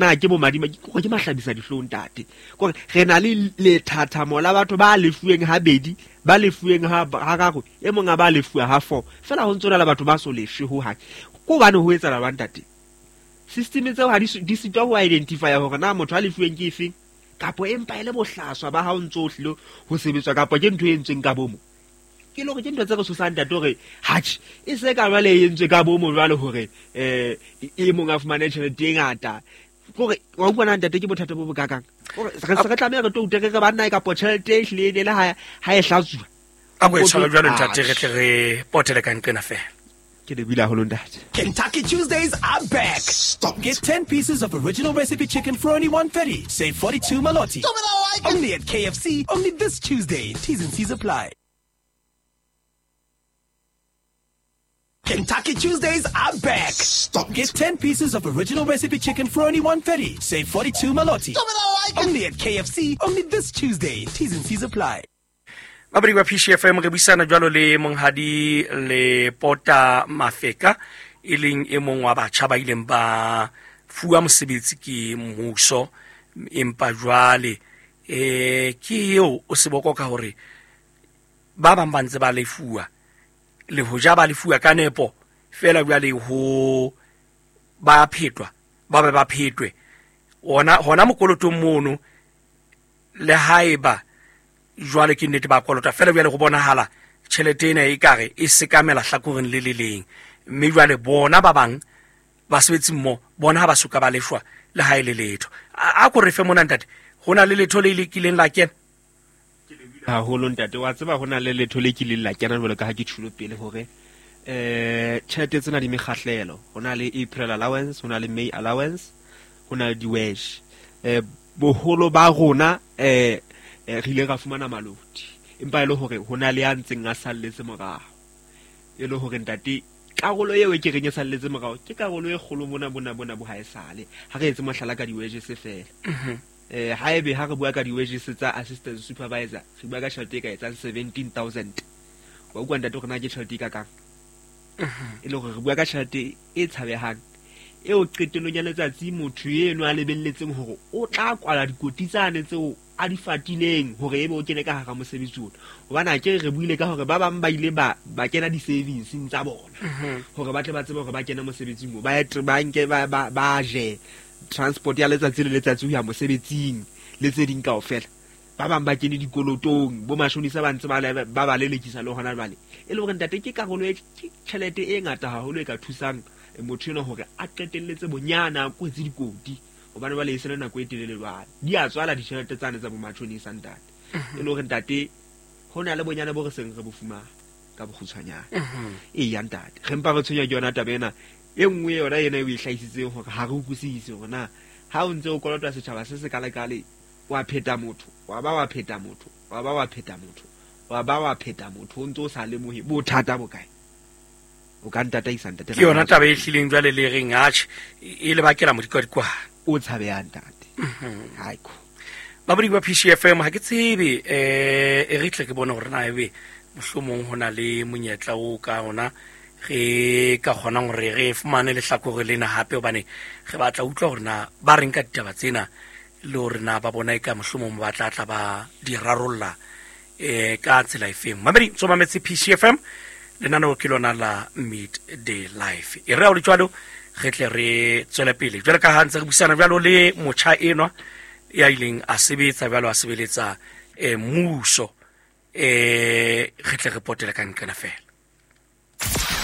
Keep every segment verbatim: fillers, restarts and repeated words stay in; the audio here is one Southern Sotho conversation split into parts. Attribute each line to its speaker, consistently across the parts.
Speaker 1: Na ke bo madima ke ke mahlabisa dihlong ntate. Kore re na le lethathamo la batho ba lefuweng ha bedi, ba lefuweng ha hararo, e mong a ba lefuwa ha four. Fela ho ntso na le batho ba so lefwe ho hang. Ko hobane ho etsahala jwang ntate? System tseo ha di di sitwa ho identify hore na motho a lefuweng ke efeng, kapo empa e le bohlaswa ba ha o ntso hlile ho sebetswa, kapo ke ntho e entsweng ka bomo. Ke le hore ke ntho tse re tshosang ntate hore hatjhe e se ka jwale e entswe ka bomo jwale hore eh e mong a fumane tjhelete e ngata. Kore wa utlwa na ntate ke bothata bo bokakang. Kore re se re tlameha re toute re re banna e kapo tjhelete e hlile e ne le ha ha e hlatsuwa.
Speaker 2: A bo e tshware jwalo ntate, re tle re potele ka nqena fela.
Speaker 1: Ke lebile haholo ntate.
Speaker 3: Kentucky Tuesdays are back.
Speaker 4: Stop.
Speaker 3: Get ten pieces of original recipe chicken for only one thirty. Save forty-two maloti.
Speaker 4: Stop it, I like it.
Speaker 3: Only at K F C, only this Tuesday. T's and C's apply. Kentucky Tuesdays are back.
Speaker 4: Stop.
Speaker 3: Get ten pieces of original recipe chicken for only one thirty. Save forty-two maloti.
Speaker 4: Stop it, I like it.
Speaker 3: Only at K F C, only this Tuesday. T's and C's apply.
Speaker 2: Babadi ba P C F M re buisana jwalo le monghadi le Pota Mafeka, e leng e mong wa batjha ba ileng ba fuwa mosebetsi ke mmuso, empa jwale eh ke eo o seboko ka hore ba bang ba ntse ba lefuwa, le hoja ba lefuwa ka nepo fela jwale ho ba phetwa, ba be ba phetwe ona hona mokolotong mono, le haeba jwale ke nnete ba kolota fela jwale go bonahala tjhelete ena e kare e sekamela hlakoreng le le leng, mme jwale bona ba bang basebetsi mmo bona ha ba soka ba lefwa le ha e le letho. A ko re fe mona ntate, ho na le letho le le kileng la kena?
Speaker 1: Haholo ntate, wa tseba ho na le letho le kileng la kena jwalo ka ha ke tjhulo pele hore eh tjhelete tsena di mekgahlelo. Ho na le April allowance, ho na le May allowance, ho na le di-wage. Eh boholo ba rona eh re ile ra fumana maloti, empa e le hore ho na le ya ntseng a salletse morao. E le hore ntate karolo eo e ke reng e salletse morao ke karolo e kgolo mona mona mona bo haesale. Ha re etse mohlala ka di-wages fela. Eh haebe ha re bua ka di-wages tsa assistant supervisor, re bua ka tjhelete e ka etsang seventeen thousand. Wa utlwa ntate hore na ke tjhelete e kakang? E le hore re bua ka tjhelete e tshabehang eo qetellong ya letsatsi motho eno a lebelletseng hore o tla kwala dikoti tsane tseo a di fatileng hore ebe o kene ka hara mosebetsi ona. Hobane ha ke re buile ka hore ba bang ba ile ba ba kena di-savings tsa bona hore ba tle ba tsebe hore ba kene mosebetsing moo, ba ba nke ba ba je transport ya letsatsi le letsatsi ho ya mosebetsing le tse ding kaofela. Ba bang ba kene dikolotong, bo mashonisa ba ntse ba ba ba lelekisa le hona jwale. E le hore ntate ke karolo e tjhelete e ngata haholo e ka thusang motho ena hore a qetelletse bonyana a kwetse dikoti, hobane ba le e sele nako e telele jwale. Di a tswala ditjhelete tsane tsa bo matjhonisa ntate. E le hore ntate ho na le bonyana bo re seng re bo fumana ka bokgutshwanyane. Eya ntate, re mpa re tshwenya ke yona taba ena. E nngwe yona ena e o e hlahisitseng hore ha re utlwisise hore na ha o ntse o kolota setjhaba se se kalekale, wa pheta motho, wa ba wa pheta motho, wa ba wa pheta motho, wa ba wa pheta motho, o ntse o sa lemohe bothata bo kae. O ka ntataisa ntate.
Speaker 2: Ke yona taba e hlileng jwale le reng atjhe e le bakela modikwadikwane
Speaker 1: o tshabehang ntate. Haiko
Speaker 2: babadi ba P C F M ha ke tsebe eh e re tle ke bone hore na ebe mohlomong ho na le monyetla o ka rona re ka kgonang hore re fumane lehlakore lena hape, hobane re batla utlwa hore na ba reng ka ditaba tsena le hore na ba bona e ka mohlomong ba tla tla ba di rarolla eh ka tsela efeng. Mamedi tso mametse P C F M, lenaneo ke lona la Midday Life. E re ha o le jwalo re tle re tswele pele jwale ka ha ntse re buisana jwalo le motjha enwa ya ileng a sebetsa jwalo a sebeletsa eh mmuso, eh re tle re potele ka nqena fela.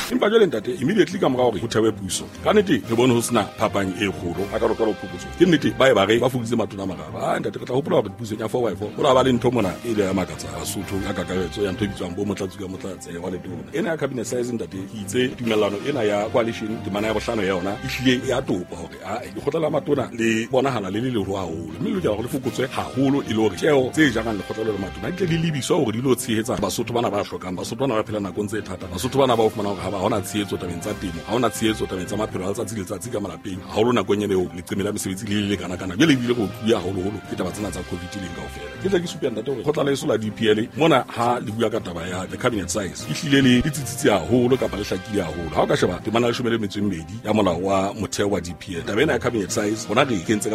Speaker 5: Empa jwale ntate immediately ka mora hore ho thewe puso, ka nnete re bone ho sena phapang e kgolo a ka lokela ho phokotso. Ke nnete ba e ba re ba fokoditse matona a mararo. Ah ntate re tla hopola hore pusong ya four by four ho la ba le ntho mona e ile ya makatsa Basotho ka kakaretso ya ntho e bitswang bo motlatsi ka motlatse wa letona. Ena ya cabinet size ntate ke itse tumellano ena ya coalition temana ya bohlano ya yona e hlile ya topa hore a lekgotla la matona le bonahala le le leholo haholo, mme le lokela hore le fokotswe haholo e le hore tjeo tse jarang lekgotla le matona di tle di lebiswa hore di lo tshehetsa Basotho bana ba hlokang, Basotho bana ba phela nakong tse thata, Basotho bana ba o fumana hore ha taba ha hona tshehetso tabeng tsa temo, ha hona tshehetso tabeng tsa maphelo a letsatsi le letsatsi ka malapeng, haholo nakong ena eo leqeme la mesebetsi le le lekana-kana. Jwale ebile re otluwe haholoholo ke taba tsena tsa COVID leng kaofela. Ke tle ke supe ntate hore kgotla la heso la D P L mona ha le bua ka taba ya the cabinet size, ehlile le le tsitsitse haholo kapa le hlakile haholo. Ha o ka sheba temana ya leshome le metso e mmedi ya molao wa motheo wa D P L, taba ena ya cabinet size rona re e kentse ka